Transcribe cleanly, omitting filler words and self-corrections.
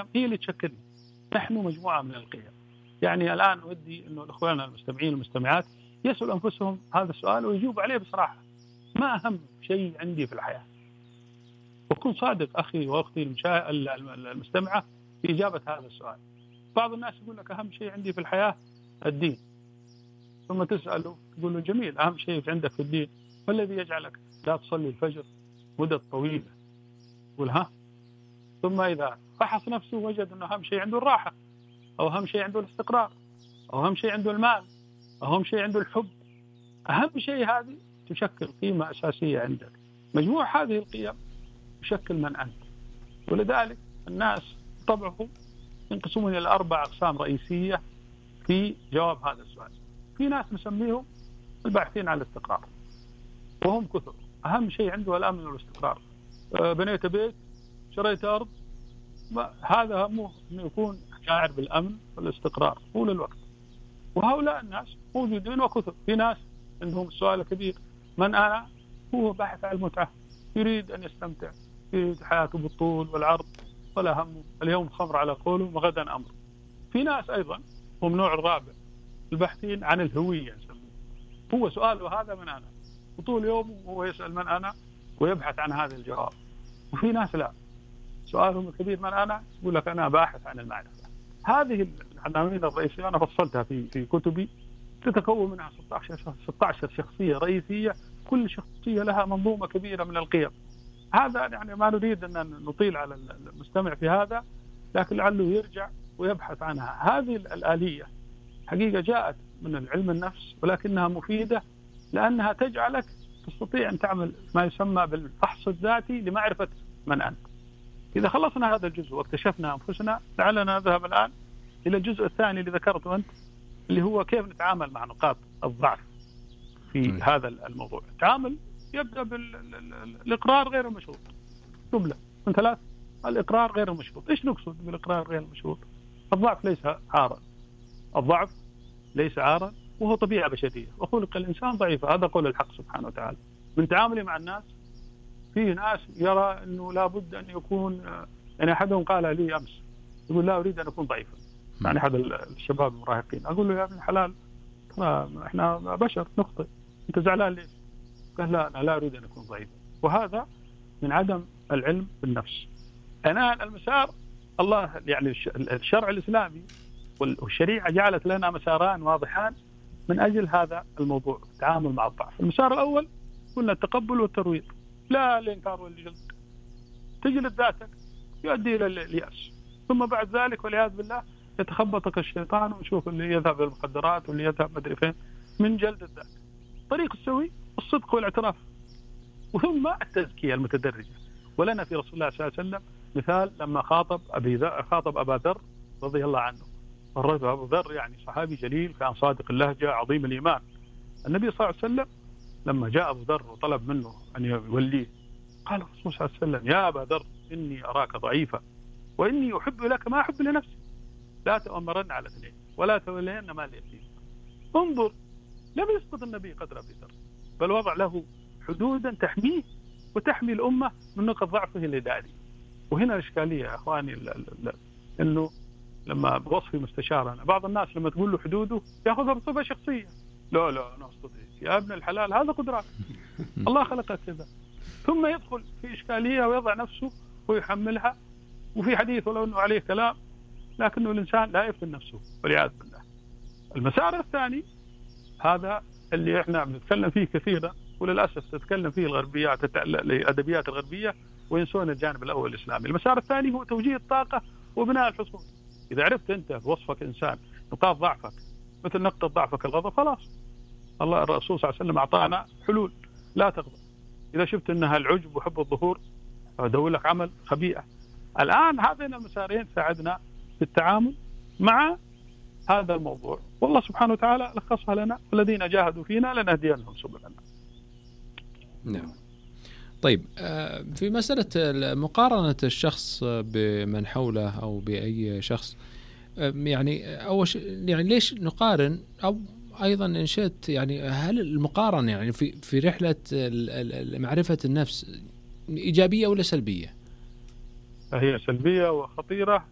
هي اللي تشكلنا. نحن مجموعة من القيم. يعني الآن ودي إنه إخواننا المستمعين والمستمعات يسألوا أنفسهم هذا السؤال ويجيبوا عليه بصراحة. ما أهم شيء عندي في الحياة؟ وكن صادق أخي وأختي المستمعة في إجابة هذا السؤال. بعض الناس يقول لك أهم شيء عندي في الحياة الدين، ثم تسأله تقول له جميل، أهم شيء عندك في الدين ما الذي يجعلك لا تصلي الفجر مدة طويلة؟ يقول ها. ثم إذا فحص نفسه وجد أنه أهم شيء عنده الراحة، أو أهم شيء عنده الاستقرار، أو أهم شيء عنده المال، أو أهم شيء عنده الحب. أهم شيء هذه تشكل قيمة أساسية عندك. مجموع هذه القيم يشكل من أنت. ولذلك الناس طبعهم ينقسمون إلى 4 أقسام رئيسية في جواب هذا السؤال. في ناس نسميهم الباحثين عن الاستقرار، وهم كثر. أهم شيء عنده الأمن والاستقرار. بنيت بيت، شريت أرض، هذا همه أنه يكون شاعر بالأمن والاستقرار طول الوقت. وهؤلاء الناس موجودين وكثر. في ناس عندهم السؤال الكبير من أنا؟ هو باحث عن المتعة، يريد أن يستمتع، يريد حياته بالطول والعرض ولا همه، اليوم خمر على قوله وغدا أمر. في ناس أيضا هم نوع الرابع، الباحثين عن الهوية نسميه. هو سؤاله هذا من أنا، وطول يومه هو يسأل من أنا ويبحث عن هذا الجواب. وفي ناس لا، سؤالهم الكبير من أنا، يقول لك أنا باحث عن المعرفة. هذه العناوين الرئيسية أنا فصلتها في كتبي، تتكون منها 16 شخصية رئيسية، كل شخصية لها منظومة كبيرة من القيم. هذا يعني ما نريد أن نطيل على المستمع في هذا، لكن لعله يرجع ويبحث عنها. هذه الآلية حقيقة جاءت من العلم النفس، ولكنها مفيدة لأنها تجعلك تستطيع أن تعمل ما يسمى بالفحص الذاتي لمعرفة من أنت. إذا خلصنا هذا الجزء واكتشفنا أنفسنا، لعلنا نذهب الآن إلى الجزء الثاني اللي ذكرته أنت، اللي هو كيف نتعامل مع نقاط الضعف في هذا الموضوع. التعامل يبدأ بالإقرار غير المشروط. جملة من 3: الإقرار غير المشروط. إيش نقصد بالإقرار غير المشروط؟ الضعف ليس عارا، الضعف ليس عارا، وهو طبيعة بشرية، وخلق الإنسان ضعيفا. هذا قول الحق سبحانه وتعالى. من تعاملي مع الناس، فيه ناس يرى أنه لابد أن يكون، يعني أحدهم قال لي أمس، يقول لا أريد أن أكون ضعيفا. يعني أحد الشباب المراهقين، أقول له يا ابن الحلال إحنا بشر نخطئ، أنت زعلان ليش؟ قال لا أنا لا أريد أن أكون ضعيفا. وهذا من عدم العلم بالنفس. أنا المسار الله يعني الشرع الإسلامي والشريعة جعلت لنا مساران واضحان من أجل هذا الموضوع، التعامل مع الضعف. المسار الأول قلنا التقبل والترويض، لا الإنكار والجلد. تجلد ذاتك يؤدي إلى اليأس، ثم بعد ذلك والعياذ بالله يتخبطك الشيطان ونشوف اللي يذهب للمخدرات واللي يذهب مدري فين من جلد الذات. طريق السوي الصدق والاعتراف، وثم التزكية المتدرجة. ولنا في رسول الله صلى الله عليه وسلم مثال لما خاطب أبا ذر رضي الله عنه. الرجل أبو ذر يعني صحابي جليل، كان صادق اللهجة عظيم الإيمان. النبي صلى الله عليه وسلم لما جاء أبو ذر وطلب منه أن يوليه، قال الرسول صلى الله عليه وسلم يا أبا ذر إني أراك ضعيفا وإني أحب لك ما أحب لنفسي، لا تؤمرن على اثنين ولا تولين مال اليتيم. انظر، لم يسقط النبي قدر أبي ذر، بل وضع له حدودا تحميه وتحمي الأمة من نقط ضعفه الإداري. وهنا الإشكالية يا أخواني، إنه لما بوصفي مستشارنا بعض الناس لما تقول له حدوده يأخذها بصفة شخصية. لا أنا أستطيع يا ابن الحلال، هذا قدرات الله خلقك كذا. ثم يدخل في إشكالية ويضع نفسه ويحملها. وفي حديث ولو أنه عليه كلام، لكنه الإنسان لا يفتن نفسه والعياذ بالله. المسار الثاني هذا اللي احنا بنتكلم فيه كثيرا، وللأسف تتكلم فيه الغربيات الأدبيات الغربية وينسون الجانب الأول الإسلامي. المسار الثاني هو توجيه الطاقة وبناء الحصول. إذا عرفت أنت بوصفك إنسان نقاط ضعفك مثل نقطة ضعفك الغضب، خلاص الله الرسول صلى الله عليه وسلم أعطانا حلول. لا تغضب. إذا شفت أنها العجب وحب الظهور، أدور لك عمل خبيئة. الآن هذين المسارين ساعدنا في التعامل مع هذا الموضوع، والله سبحانه وتعالى لخصها لنا: الذين جاهدوا فينا لنهدينهم سبلنا. نعم. طيب، في مسألة مقارنة الشخص بمن حوله أو بأي شخص، يعني أول شيء يعني ليش نقارن؟ أو أيضا إن شئت يعني هل المقارنة يعني في رحلة معرفة النفس إيجابية ولا سلبية؟ هي سلبية وخطيرة